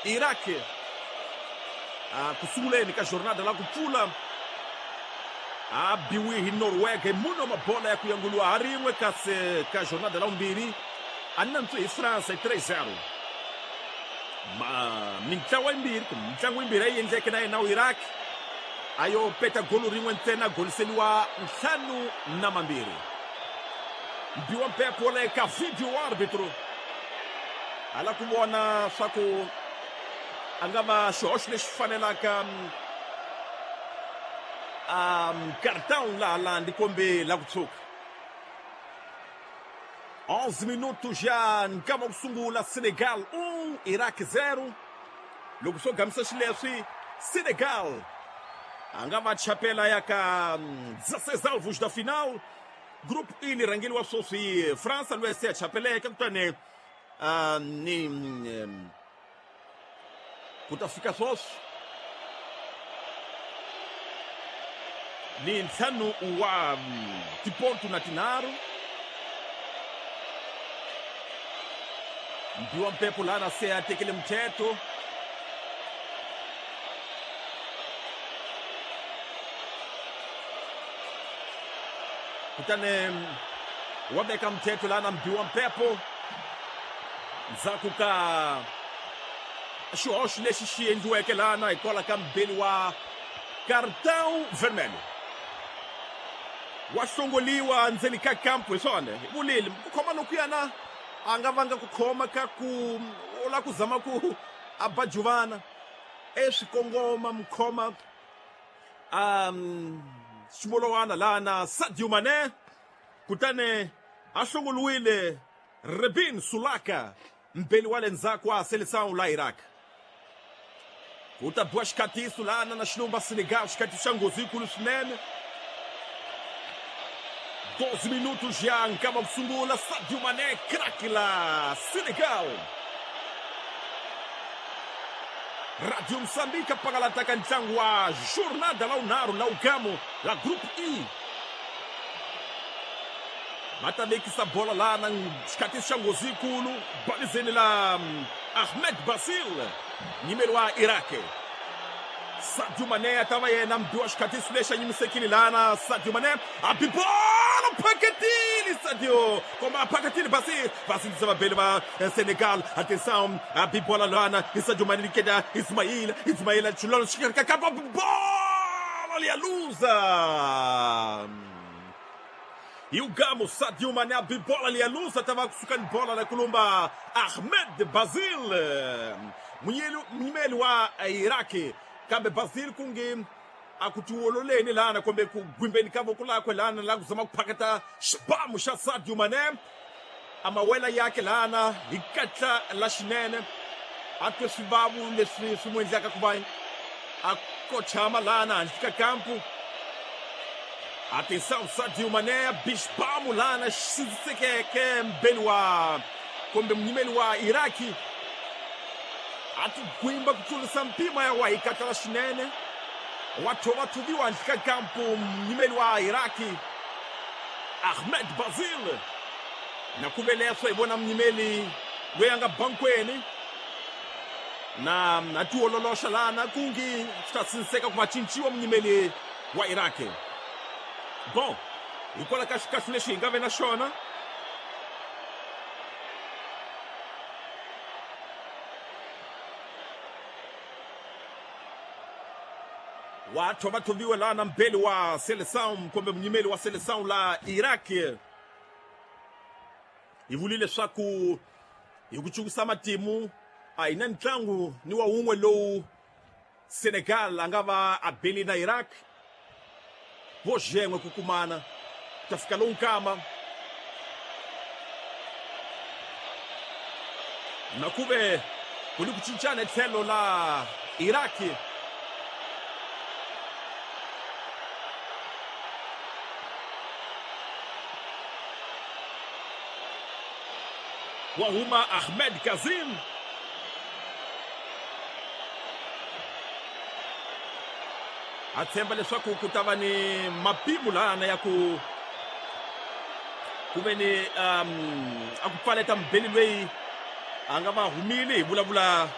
Iraq ku sunguleni ka jornada la ku pfula a biwi hi Norwega hi mune wa mabola ya ku yanguliwa ha rin'we, kasi ka jornada la vumbirhi a nantswe hi France hi 3-0. Mintlawa yimbirhi kumbe mitlangu yimbirhi a yi endleke na yena Iraq a yo peta golo rin'we ntsena, goliseliwa 5-2. Mbiwa mpepo le ka video arbitro hala ku vona swa ku a nga va xihoxo lexi fanelaka cartão laha landi kombe la ku tshuka. 11 minutos já nkama ku sungula, Senegal 1 Iraq 0. Loko swo gamisa xileswi, Senegal a nga va chapela ya ka 16 alvos da final. Group E li rhangeliwa sweswi hi França loyi se a chapeleke, kutani ni ku ta fika sweswi ni 5 wa tipontu na tinharhu. Mbiwa mpepo lana se a tekele mthetho kutani wa veka mthetho lana mbiwa mpepo ndzhaku ka xihoxo lexi xi endliweke lana hikwalaho ka mbeli wa cartão vermelho wa hlongoliwa ndzeni ka kampu. Hi swona hi vulile ku khoma lokuyana a nga vanga ku khoma ka ku u lava ku zama ku a ba juvana eswikongoma mkhoma ximolowana lana Sadio Mané, kutani a hlongoliwile Rebin Sulaka mbeli wa le ndzhaku wa Seleção la Iraq. Ku ta biwa xikhatiso lana na xilumba Senegal, xikhatiso xa nghozi yikulu swinene. 12 minutos já nkama ku sungula, Sadio Mané craque la Senegal. Radio Moçambique apangalata ka ntlangu wa jornada la unharhu la ugamo la Group E. Va ta vekisa bola lana xikhatiso xa nghozi yikulu balizeni la Ahmed Basil nyimeri wa Iraq. Sadio Mané a ta va yena mbiwa xikhatiso lexi a nyimisekile lana. Sadio Mané a bi bola phaketile, Sadio komba a phaketile Basil, va sindzisa vabeli va Senegal. Atenção, a bi bola lana i Sadio Mané liketa Ismail, Ismail chulolo xikarhi ka kampa, bola liya luza. E o Gamo Sadio Mané a bola ali a luza, tava kusukani bola la kulumba Ahmed Basil munyimeli wa Iraki, kambe Basil kungi akutiwololeni lana kumbe ku gwimbeni ka voko lakwe lana la kuzama ku phaketa xibamu xa Sadio Mané amawela yake lana hi katla la xinene a twe swivavu leswi swi n'wi endlaka ku va a kochama lana handle ka kampu. Atenção, Sadio Mané bixibamu lana xindzisekeke mbeli wa kumbe munyimeli wa Iraki a ti gwimba ku tlurisa mpimo ya wa hi katla la xinene wa thovathoviwa handle ka kampu munyimeli wa Iraki Ahmed Basil. Na ku ve leswo hi vona munyimeli loyi a nga bankweni na a tiololoxa lana kungi swi ta sindziseka ku va cinciwa munyimeli wa Iraki. Bon, hikwalaho ka xikahlu lexi hi nga ve na xona wa thovathoviwe lana mbeli wa Seleção kumbe munyimeli wa Seleção la Iraq. Hi vulile leswaku hi ku cukusa matimu a hi na ntlangu ni wa wun'we lowu Senegal a nga va a beli na Iraq vo xen'we ku kumana ku ta fika lowu nkama. Na ku ve ku ni ku cincana hi tlhelo la Iraq. Wa huma Ahmed Kazim a tshemba leswaku ku ta va ni mapimo lana ya ku ku ve ni a ku pfaleta mubeli loyi a nga va humile hi vulavula